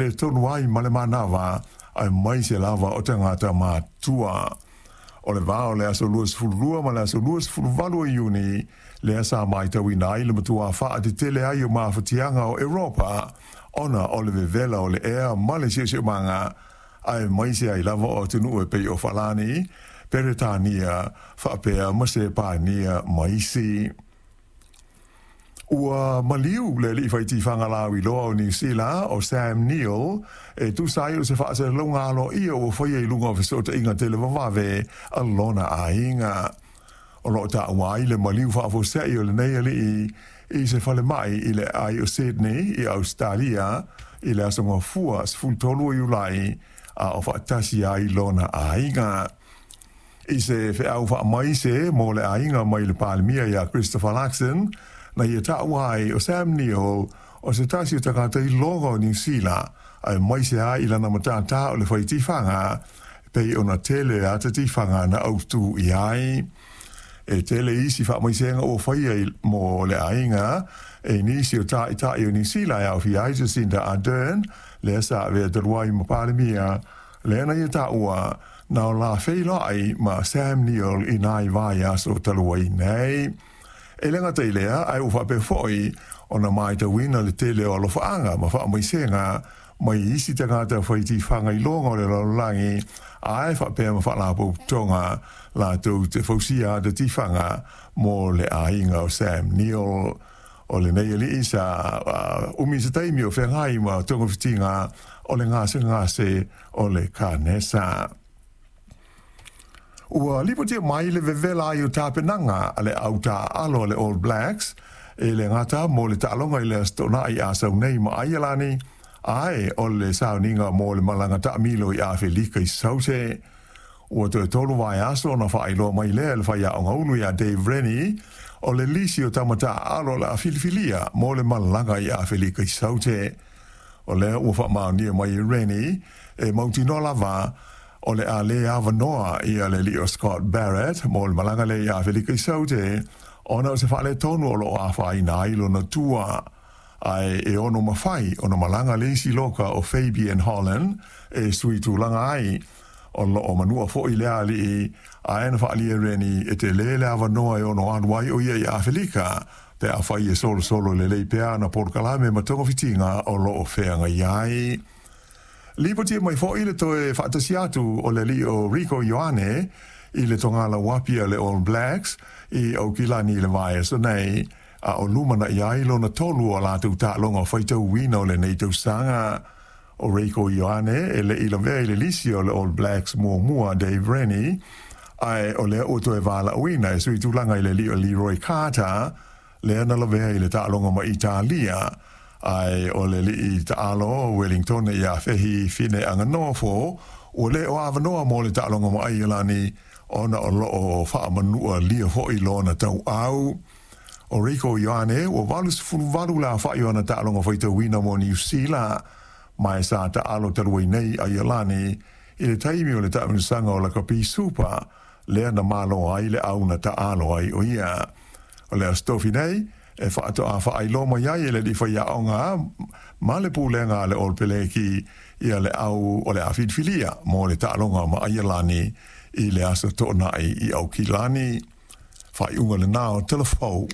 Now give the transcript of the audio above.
faaletonu ai ma le manava aemaise lava o tagata matutua. O le va o le aso 22 ma le aso 28 o Iuni lea sa matauina ai le matua faatetele ai o mafatiaga o Europa ona o le vevela o le ea ma le siosiomaga aemaise ai lava o atunuu e pei o Falani, Peretania faapea ma Sepania ma isi. Ua maliu le alii faitifaga lauiloa o Niu Sila o Sam Neill e tusa ai o se faasalalauga aloaia ua faia i luga o fesootaiga televavave a lona aiga. O loo taua ai le maliu faafuasei o lenei alii i se falemai i le aai o Sydney i Ausetalia i le aso Gafua 13 o Iulai a o faatasi ai lona aiga. I se feau faamaise mo le aiga mai le Palemia ia Christopher Luxon, na ia taua ai o Sam Neill o se tasi o tagata iloga o Niu Sila, aemaise ai i lana matatā o le fai tifaga, pei ona tele ata tifaga na autū i ai. E tele isi faamaisega ua faia mo le aiga e nisi o tāita'i o Niu Sila e aofia ai Jacinda Ardern, lea sa avea talu ai ma Palemia, lea na ia taua na o la feiloai ma Sam Neill i nai vaiaso talu ai nei. E le gata i lea, ae ua faapea foi ona matauina le tele o alofaaga ma faamaisega mai isi tagata fai tifaga iloga o le lalolagi ae faapea ma faalapotopotoga latou te fausia ata tifaga mo le aiga o Sam Neill. O lenei alii sa umi se taimi o feagai ma togafitiga o le gasegase o le kanesa. Ua lipotia mai le vevela ai o tapenaga a le au taaalo a le All Blacks e le gata mo le taaloga i le Aso Toonai a sau nei ma Aialani, ae o le sauniga mo le malaga taamilo i Afelika i Saute. Ua toe 3 vaiaso ona faailoa mai lea e le faiaoga ulu ia Dave Rennie o le lisi o tama taaalo o le a filifilia mo le malaga i Afelika i Saute. O lea ua faamaonia mai e Rennie e mautinoa lava o le a le avanoa ia le alii o Scott Barrett mo le malaga lea i Afelika i Saute ona o se faaletonu o loo afaina ai lona tua. Ae e ono mafai ona malaga le isi loka o Fabian Holland e sui tulaga ai. O loo manua foi le alii ae na faaalia e Rennie e tele le avanoa e ono alu ai o ia i Afelika pe afai e solosolo lelei pea ana polokalame ma togafitiga o loo feagai ai. Lipotia mai foi le toe faatasi atu o le alii o Rieko Ioane i le togala uapi a le All Blacks i Aukilani i le vaiaso nei, a o lumanai ai lona tolu o latou taaloga faitauina o lenei tausaga. O Rieko Ioane e le i lavea i le lisi o le All Blacks muamua Dave Rennie, ae o lea ua toe valaauina e sui tulaga i le alii o Leroy Carter, lea na lavea i le taaloga ma Italia, ae o le alii taalo o Wellington ia Fehi Fineanganofo ua le o avanoa mo le taaloga ma Aialani ona o loo faamanua lia foi lona tauau. O Rieko Ioane ua 88 le aofai o ana taaloga faitauina mo Niu Sila, ma e sa taalo talu ai nei Aialani i le taimi o le taamilosaga o Lakapi Super lea na malo ai le au na taalo ai o ia. O le Aso Tofi nei e faatoa faailoa mai ai e le alii faiaoga ma le pulega a le All Peleki ia le au o le a filifilia mo le taaloga ma Aialani i le Aso Toonai i Aukilani. Faaiuga lenā o Tala Fou.